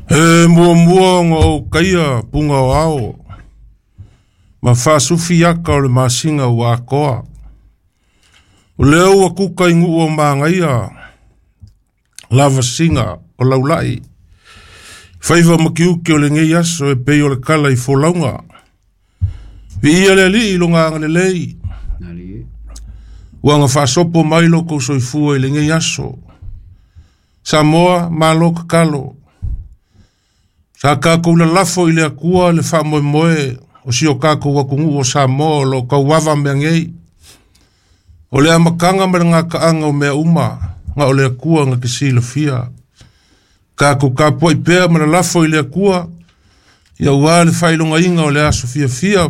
E muamua ona ou taia puga o ao ma faasufi aka o le masina ua atoa. O lea ua kuka i nuu o manaia lavasiga o laulai. Faiva ma tiute o lenei aso e pei o le tala i folauga. Viia le Alii i lona agalelei. Ua na faasopo mai lo kou soifua i lenei aso. Samoa, malo tatalo. Sa tatou lalafo i le Atua le faamoemoe o si o tatou atunuu o Samoa o lo o tauava mea nei. O le amataga ma le gataaga o mea uma na o le Atua na te silafia. Tatou tapuai pea ma lalafo i le Atua, ia ua le faailogaina o le aso fiafia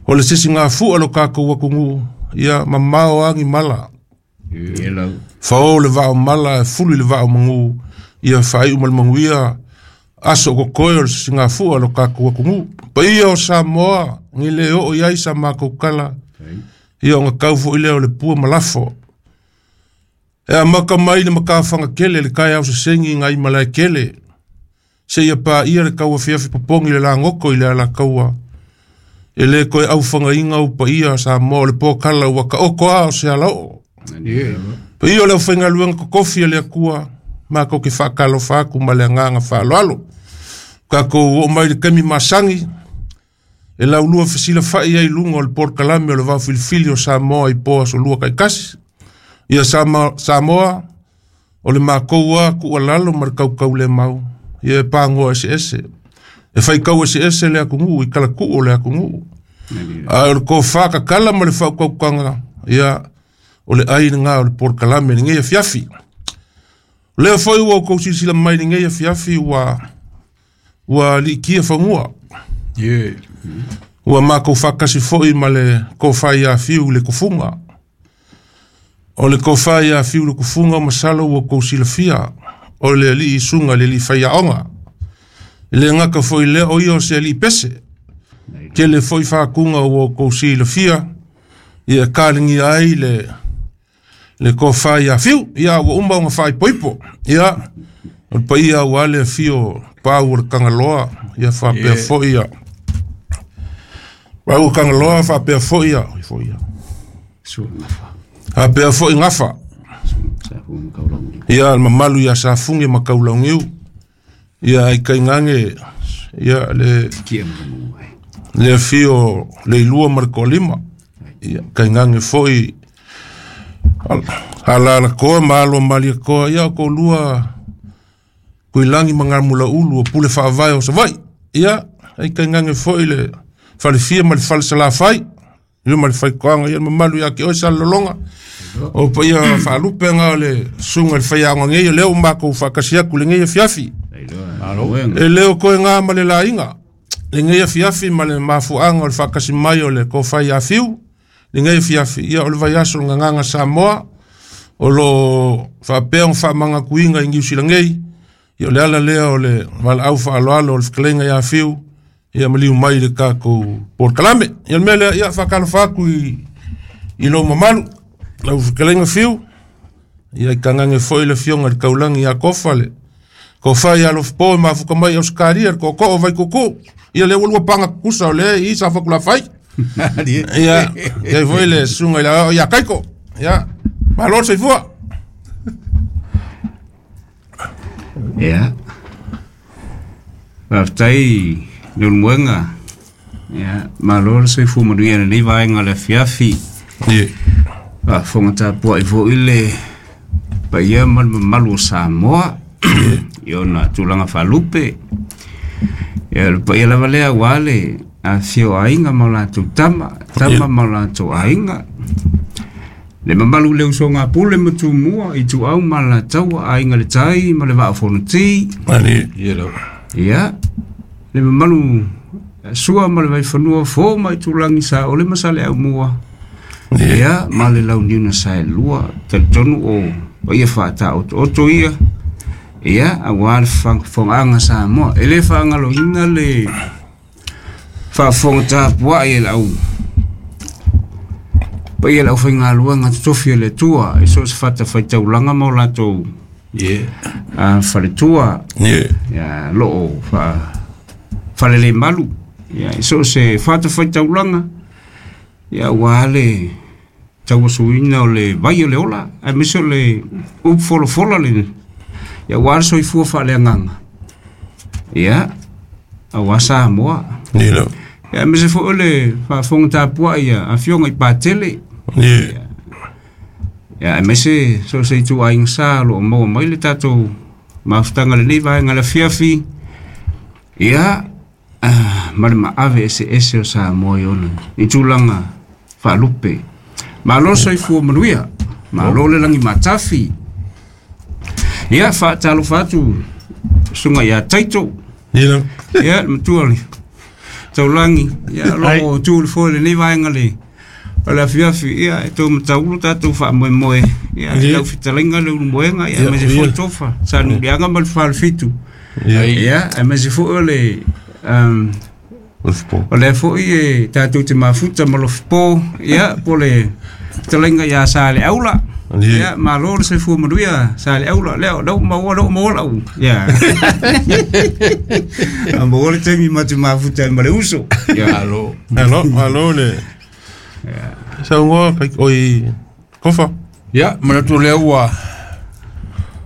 o le sisigafua o lo tatou atunuu, ia mamao agi mala. Fao le vao mala e fulu i le vao magu, ia faaiu ma le manuia aso o kokoe o le sisigafua o lo tatou atunuu. Paia o Samoa, ni le oo i ai sa matou tala, ia ona tau foi lea o le pua ma lafo. E amata mai le matafaga tele le taeao sesegi nai malae tele, seia paia le tauafiafi popogi le lagoto i le alataua. E le toe aufagaina au paia Samoa o le pokala ua taoto a o se alaoo. Paia o le aufaigaluega totofi a le Atua, matou te faatalofa atu ma le agaga faaaloalo. Tatou oo mai le taimi masani, e laulua fesilafai ai i luga o le polokalame o le vaofilifili o Samoa i po aso lua taitasi. Ia Samoa, o le matou a tuualalo ma le tautaulemau, ia e pagoa eseese. E faitau eseese le atunuu i talatuu o le atunuu. A o le tofa tatala ma le faautautaga, ia o le ai lena o le polokalame i lenei afiafi. O lea foi ua outou silasila mai i lenei afiafi ua liitia fanua. Ua matou faatasi foi ma le tofa ia Fiu i le Tufuga. O le tofa ia Fiu i le Tufuga masalo ua outou silafia, o le alii susuga i le alii faiaoga. E le gata foi lea, o ia o se alii pese. Tele foi faatuga ua outou silafia, ia taligia ai le tofa ia Fiu. Ia ua uma ona faaipoipo. Ia o le paia ua le afio pau o le Tagaloa, ia faapea foi ia pau o Tagaloa, faapea foi ia faapea foi Gafa. Ia le mamalu ia Safugi ma Kaulaugiu. Ia ai kaingange ia le afio le ilua ma le toalima. Ia kaingange foi alalakoa ma alo maliakoa, ia o kolua kuilangi ma ngamula ulu o pule faavae o Savaii. Ia ai kaingange foi le falefia ma le falesalafai, ia ma le faikoaga, ia le mamalu ia ke oe salolonga. O paia faalupe nga o le susuga i le faiaoga nei, o lea ua matou faatasi atu lenei afiafi. E le o toe ngā ma le laiga lenei afiafi ma le mafuaaga o le faatasi mai o le tofa ia Fiu lenei afiafi. Ia o le vaiaso o le Gagaga Samoa o lo faapea ona faamagatuina i Niu Sila nei. Ia o le ala lea o le valaau faaaloalo o le fetalaiga ia Fiu, ia maliu mai le tatou polokalame. Ia le mea lea, ia faatalofa atu i lou mamalu, lau fetalaiga Fiu. Ia i tagage foi le afioga i le Taulagi ia Kofa, le tofa ia Alofapo e mafuka mai Ausetalia, le tootoo o Vaitutu. Ia lea ua lua paga tutusa o lea i Safatulafai. Ia, ia foi le susuga i le ao ia Kaiko. Ia, malo le soifua. Ia. Faafetai Leulumoega. Ia, malo le soifua manuia i lenei vaega o le afiafi. Faafofoga tapuai foi le paia ma le mamalu o Samoa i ona tulaga faalupe. Ia, o le paia lava lea aua le afifio o aiga ma o latou tama, tama ma o latou aiga. Le mamalu i le usoga a Pule ma Tumua, Ituau ma Alataua, Aiga i le Tai ma le Vaa o Fonoti. Ia, le mamalu Sua ma le Vaifanua, Fo ma Itulagi, Saole ma Saleaaumua. Ia, ma le Launiu na Saelua. Talitonu o paia faataotooto ia. Ia, aua le faafofogaaga Samoa. E le faagaloina le faafofoga tapuai e lau paia le aufaigaluega totofi a le Atua i so o se fatafaitaulaga ma o latou Faletua. Ia loo falele malu. Ia so se fata faitaulaga. Ia ua le tauasuina o le vai o le ola aemaise o le upu folafola le ia ua le soifua faaleagaga. Ia aua Samoa. Ia Ia aemaise foi o le faafofoga tapuai a afioga i Patele. Ia aemaise so se ituaiga sa o loo maua mai le tatou mafutaga lenei vaega le afiafi. Ia ma le maave eseese o Samoa i ona i tulaga faalupe. Malo soifua manuia, malo le lagi matafi. Ia faatalofa atu susuga ia Taito. Ia. Ia le matua le taulagi. Ia loo tu le foe lenei vaega le o le afiafi. Ia e tou mataulu tatou faamoemoe. Ia lau fetalaiga le ulumoega. Ia aemaise foi tofa Sanuliaga ma le Falefitu. Ia aemaise foi o le o lea foi e tatou te mafuta ma Lofipo. Ia po le fetalaiga ia Saleaula. Ia malo le soifua manuia Saleaula. Lea leu maua leu maua lau. Ia a maua le taimi ma te mafuta ma le uso. Ia alo alo alo le saunoa kai oi Kofa. Ia manatu lea ua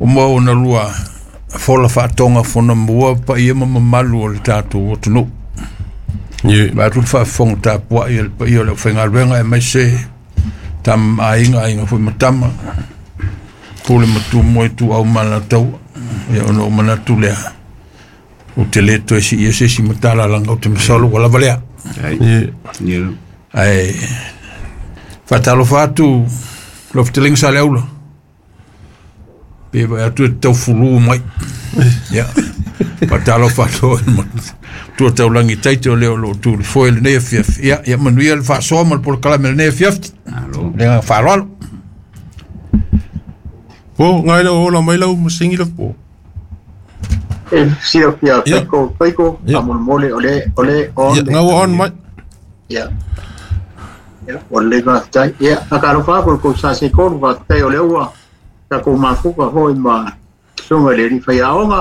o maua na lua fola faatoga fonamua paia ma mamalu o le tatou atunuu. Vaeatu le faafofoga tapuai a le paia o le aufaigaluega aemaise tama aiga aiga foi ma tama pule ma tumua i tuau ma alataua. Ia ona ou manatu lea ou te le toe siia se isi matalalaga ou te masalo ua lava lea. Ae faatalofa atu lau fetalaiga Saleaula pe vaai atu e taufulu mai. Ia faatalofa atu tua taulagi Taito o lea o loo tu le foe lenei afiafi. Ia ia manuia le faasoa ma le polokalame lenei afiafi. Malo. Le agaga faaaloalo. Po ngai lau ola mai lau masingi le po. E silafia Taiko Taiko faamolemole o le o le on. Ia ngau on mai. Ia. Ia o le faafetai. Ia faatalofa atu i le kou sa se tolu faafetai o lea ua tatou mafuta foi ma susuga i le alii faiaoga.